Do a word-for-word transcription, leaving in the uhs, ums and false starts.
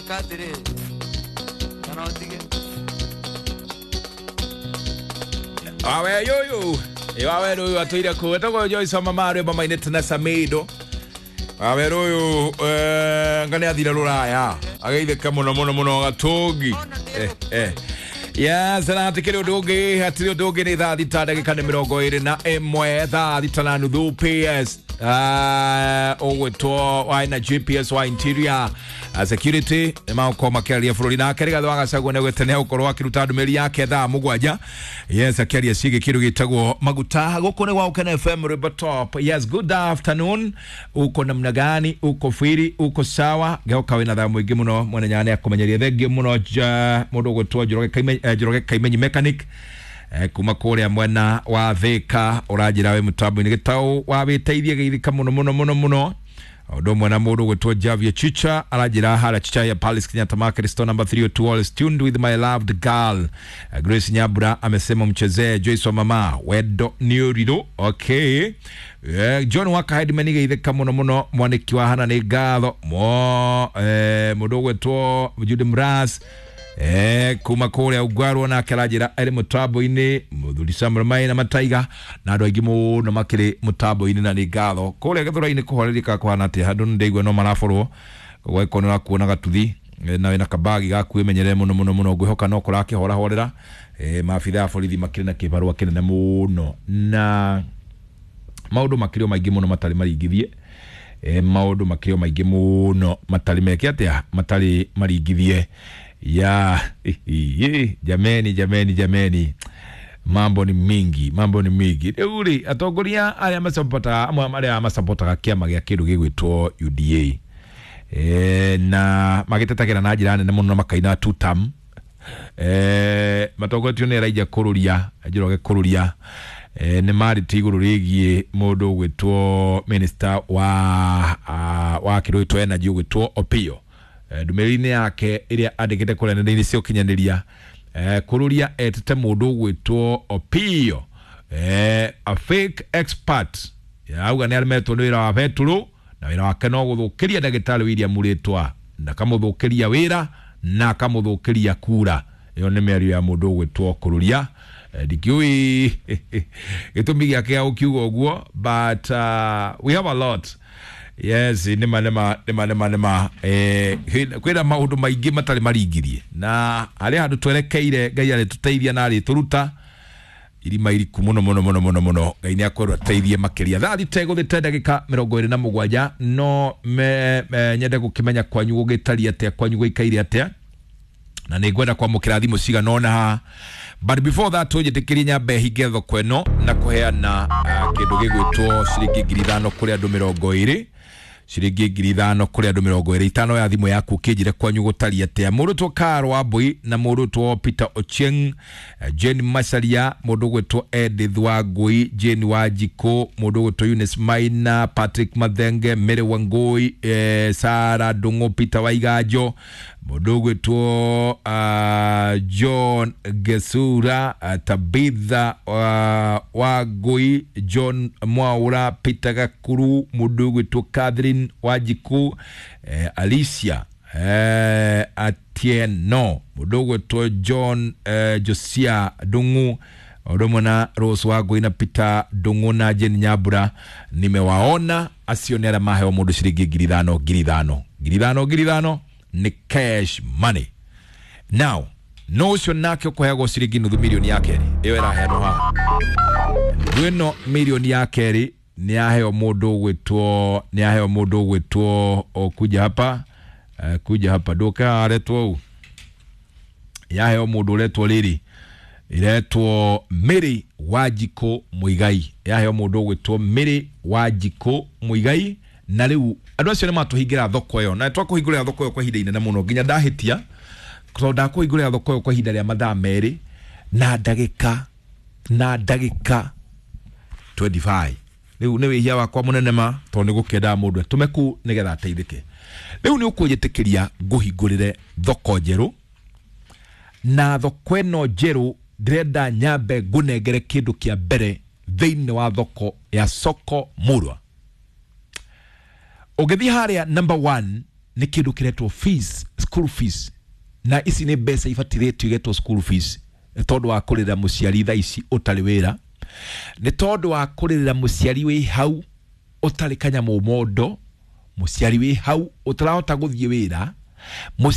Ngwĩka atĩrĩrĩ kana ũtige. Awe yoyo. Awe yoyo atuire ku etagwo Joyce mama rwimbo mainĩte na Samido. Awe yoyo eh ngane athire ruraya. Ageithĩka mũno mũno mũno gatũngi. Eh eh. Yes, na hatikĩrĩ ũndũ ũngĩ, hatirĩ ũndũ ũngĩ nĩ thaa thita ndagĩka nĩ mĩrongo ĩrĩ na ĩmwe thaa thita na nuthu P S ũgwĩtwo wa na G P S wa interior security nĩ magũkorwo makĩaria bũrũri nake Rigathĩ wa Gachagua nĩ augĩte nĩ egũkorwo akĩruta ndũmĩrĩri yake thaa mũgwanja. Yes, akĩaria ciĩgiĩ kĩndũ gĩtagwo maguta. Gũkũ nĩ gwa Ũkena F M Rwimbo Top. Yes, good afternoon. Uko namna gani? Uko firi? Uko sawa? Geuka wĩna thaa mũingĩ mũno mwene nyanya akũmenyeria. Thengiũ mũno mũndũ ũgwĩtwo Njoroge Kaimenyi, Njoroge Kaimenyi mechanic kuma kũrĩa mwena wa Thika ũranjĩra wĩ mũtambo-inĩ gĩtaũ wa wĩteithie geithĩka mũno mũno mũno mũno. Ũndũ ũmwe na mũndũ ũgwĩtwo Javier Chicha aranjĩra harĩa Chicha ya Palace Kenyatta Market store number three oh two all is tuned with my loved girl. Grace Nyabura amesema mchezee Joyce wa mama wendo nĩ ũrirũ. Okay. John Waka Headman geithĩka mũno mũno mwanĩki wa hana nĩ ngatho mo mũndũ ũgwĩtwo Jude Mras eh kuma kũrĩa Ungwarwo nake aranjĩra arĩ mũtambo-inĩ mũthuri Samuel Maina Mataiga na andũ aingĩ mũno makĩrĩ mũtambo-inĩ na nĩ ngatho. Kũrĩa Gĩthũrai-inĩ kũhoreria kũhana atĩa? Handũ nĩndaigua no maraborwo gweko nĩ ũrakuona gatuthi na wĩna kabagi gaku wĩmenyerere mũno mũno mũno ngwĩhoka no kũrakĩhorahorera. Eh maabithaa a borithi makĩrĩ na kĩbarũa kĩnene mũno na maũndũ makĩrĩ o maingĩ mũno matarĩ maringithie. Eh maũndũ makĩrĩ o maingĩ mũno matarĩ meke atĩa matarĩ maringithie. Ya jameni jameni jameni, mambo ni mingi, mambo ni mingi. Rĩu rĩ atongoria arĩa macapotaga amwe arĩa macapotaga kĩama gĩa kĩndũ gĩgwĩtwo U D A eh na magĩtetagĩra na njĩra nene mũno na makaina two term eh matongoretio nĩ Elijah Kũrũria Njoroge Kũrũria eh nĩ marĩtie igũrũ rĩgiĩ mũndũ ũgwĩtwo minister wa wa kĩndũ gĩtwo energy ũgwĩtwo Opiyo. Ndũmĩrĩri-inĩ yake ĩrĩa andĩkĩte kũrĩa nenda-inĩ cia ũkinyanĩria Kũrũria etĩte mũndũ ũgwĩtwo Opiyo eh a fake expert. Auga nĩ aremetwo nĩ wĩra wa betũrũ na wĩra wake no gũthũkĩria ndagĩtarĩ William Mũrĩtwa na akamũthũkĩria wĩra na akamũthũkĩria kura. Ĩyo nĩ mĩario ya mũndũ ũgwĩtwo Kũrũria. Ndikĩũĩ gĩtũmi gĩake gĩa gũkiuga ũguo, but uh, we have a lot. Yes, nĩma nĩma nĩma nĩma nĩma eh kwĩna maũndũ maingĩ matarĩ maringirie na harĩa handũ twerekeire Ngai arĩtũteithia na arĩtũruta irima iriku mũno mũno mũno mũno mũno. Ngai nĩ akwĩrwo ateithie makĩria. Thaa thita ĩgũthĩte ndagĩka mĩrongo ĩrĩ na mũgwanja no me, me, nyende gũkĩmenya kwanyu gũgĩtariĩ atĩa, kwanyu gũikaire atĩa, na nĩ ngwenda kwamũkĩra thimũ cigana ũna haha. But before that tũnjĩtĩkĩrie nyambe hinge thoko ĩno na kũheana uh, kĩndũ gĩgwĩtwo ciringi ngiri ithano kũrĩ andũ mĩrongo ĩrĩ ciringi ngiri ithano kũrĩ andũ mĩrongo ĩrĩ itano ya thimũ yaku ũkĩnjĩre kwanyu gũtariĩ atĩa. Mũndũ ũgwĩtwo Carol Wambui na mũndũ ũgwĩtwo Peter Ochieng, Jane Macharia, mũndũ ũgwĩtwo Edith Wangui, Jane Wanjikũ, mũndũ ũgwĩtwo Eunice Maina, Patrick Mathenge, Mary Wangui, eh, Sarah Ndung'u, Peter Waiganjo, mũndũ ũgwĩtwo uh, John Gesura, uh, Tabitha uh, Wangui, John Mwaura, Peter Gakuru, mũndũ ũgwĩtwo Catherine Wanjikũ, eh, Alicia eh, Atieno, mũndũ ũgwĩtwo John eh, Josia Ndung'u, ũndũ ũmwe na Rose Wangui na Peter Ndung'u na Jane Nyambura. Nimewaona acio nĩ arĩa maheo mũndũ ciringi ngiri ithano ngiri ithano ngiri ithano ngiri ithano nĩ cash money. Now no ũcio nake ũkũheagwo ciringi nuthu milioni ya kerĩ ĩyo ĩraheanwo haha. Nuthu ĩno milioni ya kerĩ nĩ yaheo mũndũ ũgwĩtwo nĩ yaheo mũndũ ũgwĩtwo kuja hapa uh, kuja hapa ndũke haha aretwo ũũ yaheo mũndũ ũretwo rĩrĩ iretwo Mary Wanjikũ Muigai yaheo mũndũ ũgwĩtwo Mary Wanjikũ Muigai. Na rĩu andũ acio nĩ matũhingĩra thoko ĩyo na twakũhingũrĩra thoko ĩyo kwa ihinda inene mũno nginya ndahĩtia tondũ ndakũhingũrĩra thoko ĩyo kwa ihinda rĩa mathaa merĩ na ndagĩka na ndagĩka twenty-five. Rĩu nĩ wĩhia wakwa mũnene ma tondũ nĩ gũkĩendaga mũndũ atũme kũu nĩgetha ateithĩke. Rĩu nĩ ũkũnjĩtĩkĩria ngũhingũrĩre thoko njerũ na thoko ĩno njerũ ndĩrenda nyambe ngũnengere kĩndũ kĩa mbere thĩinĩ wa thoko ya Soko Murwa. Ũngĩthiĩ harĩa number one Nĩ kĩndũ kĩretwo fees, school fees, na ici nĩ mbeca ibatirĩtio igetwo school fees, nĩ tondũ wa kũrĩra mũciari thaa ici ũtarĩ wĩra, nĩ tondũ wa kũrĩrĩra mũciari wĩ hau ũtarĩ kanyamũ mondo, mũciari wĩ hau ũtarahota gũthiĩ wĩra.